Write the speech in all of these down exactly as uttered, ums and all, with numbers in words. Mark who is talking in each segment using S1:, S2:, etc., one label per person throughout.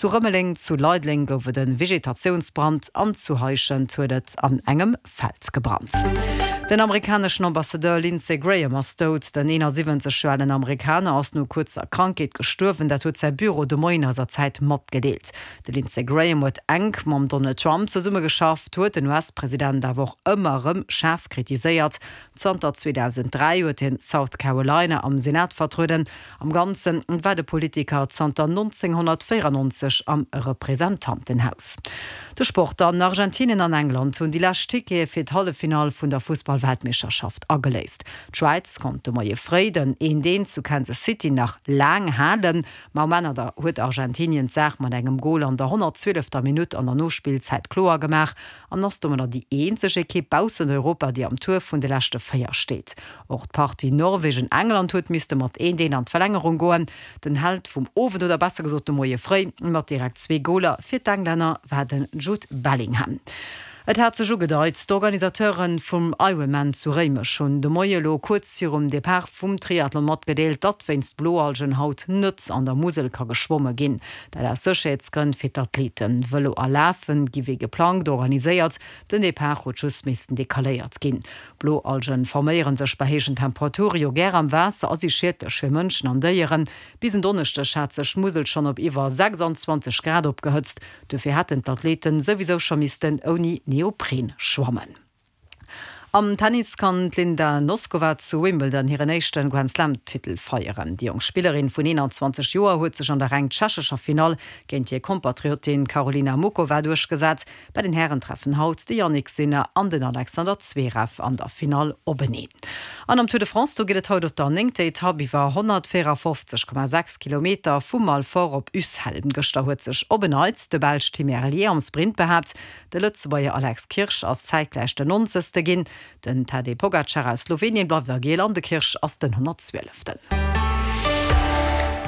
S1: Zu Rëmeleng, zu Leideleng gouf et e Vegetatiounsbrand an zu Heischent huet et an engem Feld gebrannt. Den amerikaneschen Ambassadeur Lindsey Graham ass dout. Den eenasiwwenzeg Joer alen Amerikaner ass no kuerzer Krankheet gestuerwen, dat huet säi Büro de Moien eiser Zäit matgedeelt. De Lindsey Graham huet enk mam Donald Trump zesummegeschafft, huet den U S-President awer och ëmmer erëm schaarf kritiséiert. Zanter zweedausenddräi huet hien South Carolina am Senat vertrueden. Am Ganze war de Politiker zanter nonzénghonnertvéierennonzeg am Representantenhaus. De Sport dann, Argentinien an England hunn déi lescht Tickete fir d'Halleffinall vun der Fussball-Weltmeeschterschaft ageléist. D'Schwäiz konnt de Moie fréi den eent eent zu Kansas City nach laang halen, ma um Enn huet Argentinien d'Saach mat engem Gol an der honnertzwielefter Minutt an der Nospillzäit kloer gemaach an ass domadder déi eenzeg Ekipp baussent Europa, déi am Tour vun de leschte véier steet. Och d'Partie Norwegen-England huet misste mat eent eent an d'Verlängerung goen. Den Held vum Owend, oder besser gesot de Moie fréi, mat direkt zwee Goler fir d'Englänner war den Jude Bellingham. Et hat sech ugedeit, D'Organisateure vum Ironman zu Réimech hunn de Moie lo kuerz virum Depart vum Triathlon matgedeelt, datt wéinst Bloalgen haut net an der Musel ka geschwomme ginn. Dat aus Sécherheetsgrënn fir d'Athleten. Vëlo a Lafe gi wéi geplangt organiséiert, den Depart huet just missten decaléiert ginn. Bloalgen forméiere sech bei héijen Temperature jo gär am Waasser a si schiedlech fir Mënschen an Déieren. Bis en Donneschdeg hat sech d'Musel schonn op iwwer sechsanzwanzeg Grad opgehëtzt, dofir hätten d'Athleten souwisou scho missten ouni Neopren schwammen. Am Tennis kann d'Linda Noskova zu Wimbledon hiren éischte Grand-Slam-Titel feieren. Déi jonk Spillerin vun eenanzwanzeg Joer huet sech an der reng tschechescher Finall géint hir Kompatriotin Karolina Muchova duerchgesat. Bei den Hären treffen haut de Jannik Sinner an den Alexander Zverev an der Finall openeen. An am Tour de France, do geet et haut op der néngter Etapp iwwer honnertvéierafofzeg Komma sechs Kilometer vu Malfort op Ussel. Gëschter huet sech op en Neits de Belsch Tim Merlier am Sprint behaapt. De Lëtzebuerger Alex Kirsch ass zäitgläich den nonzegste ginn. Den Tadej Pogacar aus Slowenien bleift a Giel an de Kirsch ass den honnertzwieleften.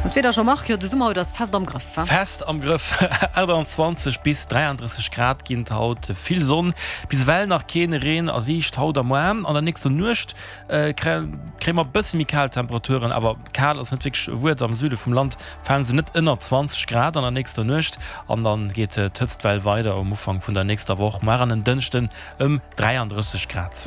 S1: An d'Wieder, Jean-Marc, jo de Summer huet eis fest am Grëff, wa?
S2: Fest am Grëff, aachtanzwanzeg bis dräiandrësseg Grad ginn et haut, vill Sonn, bis ewell nach keen Reen a Siicht haut a muer. An der nächster Nuecht kréie mer e bësse méi kal Temperaturen, awer kal ass net wierklech e Wuert, am Süde vum Land fale se net ënner zwanzeg Grad an der nächster Nuecht an dann geet d'Hëtztwell weider um Ufank vun der nächster Woch, muer an en Dënschden ëm dräiandrësseg Grad.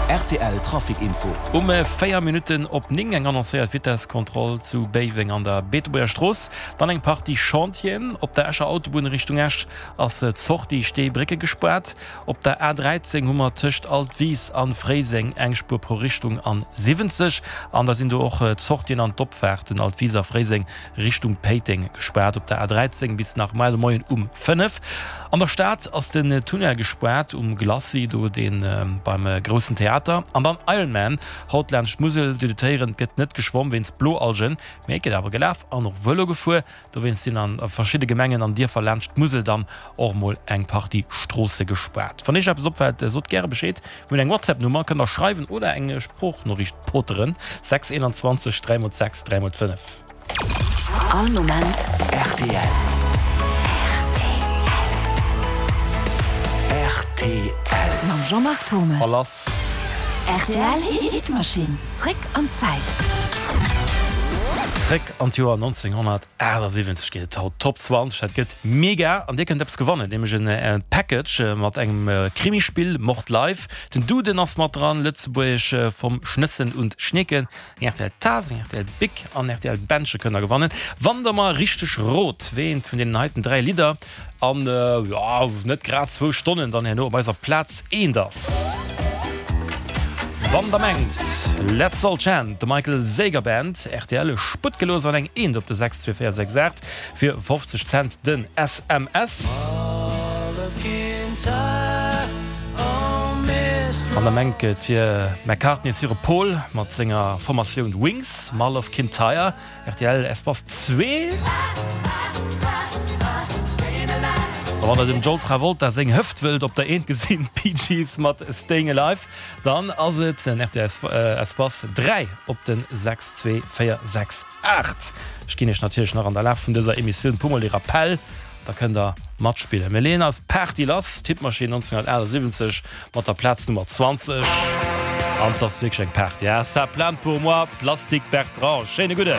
S3: Rtl Trafic Info.
S2: Um véier Minutten op néng eng annoncéiert Vitesskontroll zu Béiweng an der Beetebuerger Strooss. Dann eng Partie Chantieren. Op der Escher Autobunn Richtung Esch ass d'Sortie Steebrécke gespaart. Op der A dräizéng hu mer tëscht Altwis an Fréiseng eng Spuer pro Richtung an siwwenzeg. An da sinn do och d'Sortien an d'Opfaarten Altwis a Fréiseng Richtung Péiteng gespaart op der A dräizéng bis nach muer de Moien um fënnef. An der Stad ass den Tunnel gespaart um Glacis, do dee beim Groussen Theater. An dann Ironman haut laanscht d'Musel. Dir hutt et héieren, et gëtt net geschwomm wéinst Bloalgen, mee et gëtt awer gelaf an och Vëlo gefuer. Dowéinst sinn a verschidde Gemengen an Dierfer laanscht d'Musel dann och mol eng Partie Stroosse gespaart. Wann Iech eppes opfält, sot gäre Bescheed. Mir hunn eng WhatsApp-Nummer, kënnt der schreiwen oder eng Sproochnoriicht poteren, sechs eenanzwanzeg dräi mol sechs dräi mol fënnef.
S4: All Moment
S3: rtl. Rtl.
S4: Mam Jean-Marc Thomes.
S2: A lass.
S4: Rtl Hitmaschinn, zréck an d'Zäit.
S2: Zréck an d'Joer nonzénghonnertaachtsiwwenzeg geet et haut. Top zwanzeg, dat gëtt mega an dir kënnt eppes gewannen, nämlech en Package mat engem Krimispill Mord Live. Den Duden ass mat dran, Lëtzebuergesch vom Schnëssen und Schneeken, eng rtl Taass, eng rtl Bic an rtl Bändche kënnt der gewannen, wann der mer richteg rot, wéi eent vun deenen heiten dräi Lidder an, jo, net grad zwou Stonnen dann herno op eiser Plaz eent ass. Wann der mengt, Let's All Chant, The Michael Zager Band, rtl, Sputt gelooss an eng Eent op de sechs zwee véier sechs aacht fir fofzeg Cent den S M S. Wann der mengt, et wier McCartneys hire Paul mat senger Formatioun Wings, Mull of Kintyre, rtl Espace zwee. A wann der dem John Travolta seng Hëft wëllt op der Eent gesinn, Bee Gees mat Staying Alive, dann ass et en rtl Espace dräi op den sechs zwee véier sechs aacht. Ech ginn iech natierlech nach an der Laf vun dëser Emissioun puer mol de Rappel, da kënnt der matspillen. Mir leeën eis Party lass, d'Hitmaschinn nonzénghonnertaachtsiwwenzeg mat der Plaz Nummer zwanzeg. An 't ass wierklech eng Party, hein? Ça plane pour moi, Plastic Bertrand. Schéine gudden!